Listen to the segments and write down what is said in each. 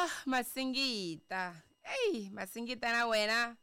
Ah, Masingita. Ey, Masingita na wena.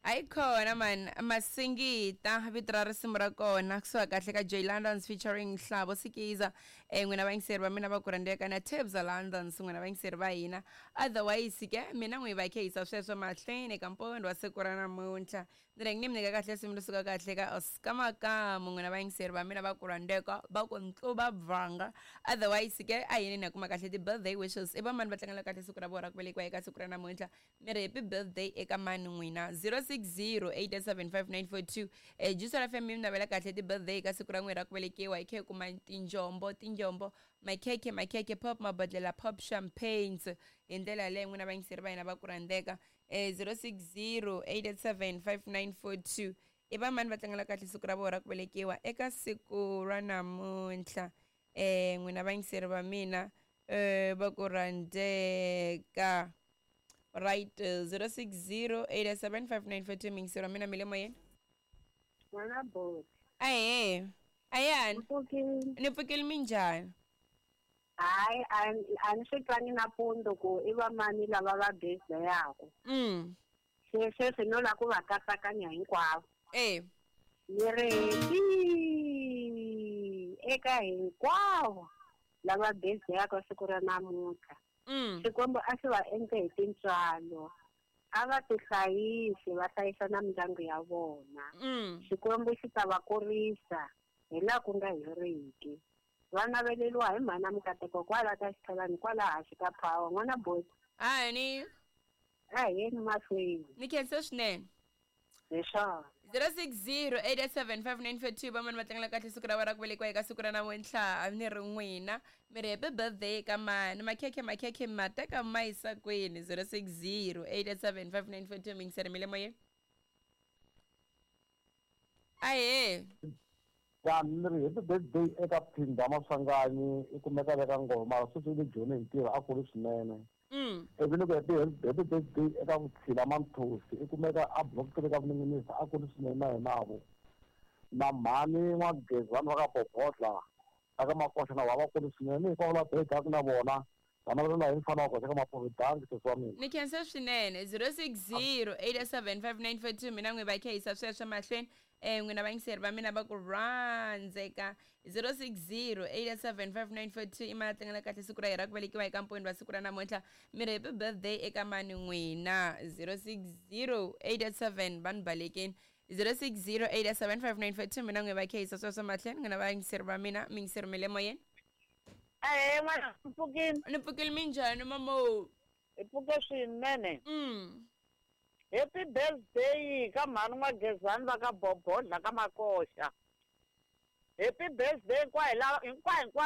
Hayi khona man, Masingita vito ra risimu ra kona kusuka kahle ka Jay Londons featuring Hlabo Sikiza. Eh n'wina vayingiseri va mina va ku rhandzeka na Tebza Londons n'wina vayingiseri va hina. Otherwise ke mina n'wi va khehisa sweswo mahlweni ka mpondo wa siku ra namuntlha. Ni rhangi ni mi nyika kahle risimu ri suka kahle ka Oscar Makamu n'wina vayingiseri va mina va ku rhandzeka va ku ntluva bvanga. Otherwise ke a yini ni ya kuma kahle ti-birthday wishes i va mani va tlangela kahle siku ra vona ra ku velekiwa eka siku ra namuntlha mi ri happy birthday eka mani n'wina 060 8875942 eh, Juice FM mi navela kahle ti-birthday eka siku ra n'wina ra ku velekiwa hi khe hi kuma tinjombo tinjombo makhekhe makhekhe pop mabodlela pop champagnes hi ndlela yaleyo n'wina vayingiseri va hina va ku rhandzeka eh, 060 887 5942 i va mani va tlangela kahle siku ra vona ra ku velekiwa eka siku ra namuntlha eh n'wina vayingiseri va mina eh va ku rhandzeka right 060 887 5942 miyingiseri wa mina mi le moyeni. N'wana boti. Ahee, ayani. Mpfukile. Ni pfukile, minjhani? Hayi, a ni swi twangi nampundzu ku i va mani lava va birthday-aku. Se sweswi no lava ku va katsakanya hinkwavo. Ni ri happy eka hinkwavo lava birthday-aka siku ra namuntlha. Xikwembu a xi va endle hi tintswalo. A va tihlayisi va hlayisa na mindyangu ya vona. Xikwembu xi ta va kurisa hi laha ku nga heriki. Va naveleriwa hi mhana Mikateko kwala ka Xithalani kwala hansi ka Power. N'wana boti. Ahani. A hi yeni mahlweni. Ni khensa swinene. Hi swona. 060 887 5942 vamani va tlangela kahle siku ra vona ra ku velekiwa eka siku ra namuntlha ni ri n'wina mi ri happy birthday ka mani makhekhe makhekhe ma teka ma yisa kwini 060 887 5942 mingiseri mi le moyeni ahee. Ya ni ri happy birthday eka Phinda Maswanganyi i kumeka le ka Ngoma mara sweswi i le Joni hi ntirho a kuli swinene. Ivi ni ku happy happy birthday eka Vutshila Manthosi i kumeka a block 3 ka Vuninginisi a kuli swinene na yena vo. Na mhani N'wagezi vanhu va ka Bobodla va ka Makoxa na vona va kuli swinene ni hinkwavo lava birthday na vona va navelela hi mfana wa koxa ka Mapuve danki sesi wa mina. Ni khensa swinene 060 887 5942 mina n'wi va khehisa sweswo mahlweni eh n'wina vayingiseri va mina va ku rhandzeka 060 887 5942 i mali tlangela kahle siku ra hina ra ku velekiwa eka mponi wa siku ra namuntlha mi ri happy birthday eka mani n'wina 060 887 va ni balekeni 060 887 5942 mina n'wi va khehisa sweswo mahlweni n'wina vayingiseri va mina miyingiseri mi le moyeni. Ahee n'wana, ni pfukile. Ni pfukile, minjhani mamo? Hi pfuke swinene. Happy birthday ka mhani N'wagezani va ka Bobodla ka Makoxa. Happy birthday hinkwayo lava hinkwayo hinkwavo.